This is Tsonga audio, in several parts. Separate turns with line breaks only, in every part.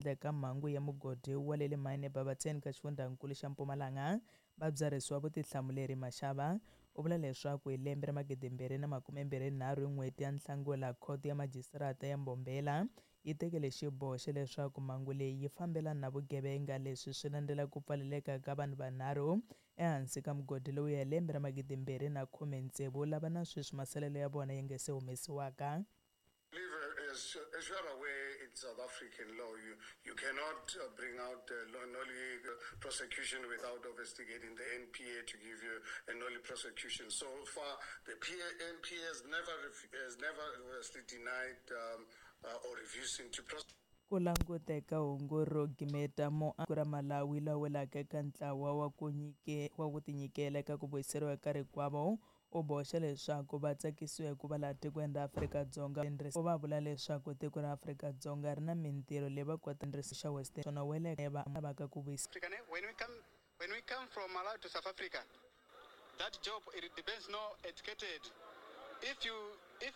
Eka mhangu ya mugodi wa le Mayini eBarberton ka xifundzankulu xa Mpumalanga, va byarhisiwa vutihlamuleri. Mashaba u vula leswaku hi lembe ra 2023 hi n'hweti ya Nhlangula, Khoto ya Majisitarata ya Mbombela yi tekile xiboho xa leswaku mhangu leyi yi fambelana na vugevenga. Leswi swi landzela ku pfaleleka ka vanhu vanharhu ehansi ka mugodi lowuya hi lembe ra 2016, lava na sweswi masalelo ya vona ya nga se humesiwaka.
As you are aware, in South African law, you cannot bring out a nolle prosecution without investigating the NPA to give you a nolle prosecution. So far, the NPA has never obviously denied or refusing to prosecute.
Ku languteka hungu ro gimeta muaki ra Malawi la welaka eka ntlawa wa ku nyike wa ku tinyikela eka ku vuyiseriwa ka rikwavo u boxa leswaku va tsakisiwa hi ku va laha tikweni ra Afrika-Dzonga. U va vula leswaku tiko ra Afrika-Dzonga ri na mintirho leyi va kota xa West swona weleke va lavaka ku vuyisa.
When we come from Malawi to South Africa, that job, it depends, no educated. If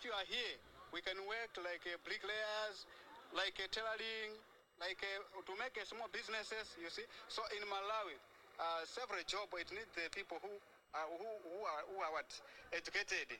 you are here, we can work like bricklayers, like tailoring, like to make small businesses. You see. So in Malawi, several job, it needs the people who are what, educated.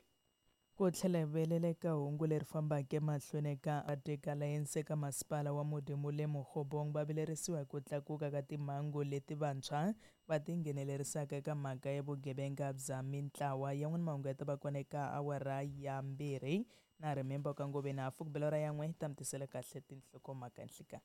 Ku tlhela hi vuyelela eka hungu leri fambaka emahlweni ka Arctic Alliance eka masipala wa Modimolle Mokgobong va vilerisiwa hi ku tlakuka ka timhangu leti vantshwa va tinghenelerisaka eka mhaka ya vugevenga bya mintlawa. Yan'wana mahungu ya ta va kona eka awara ya 2 na remember ka ngove na hafu ku bela ora yan'we ta mi tisela kahle tinhlokomhaka nhlikani.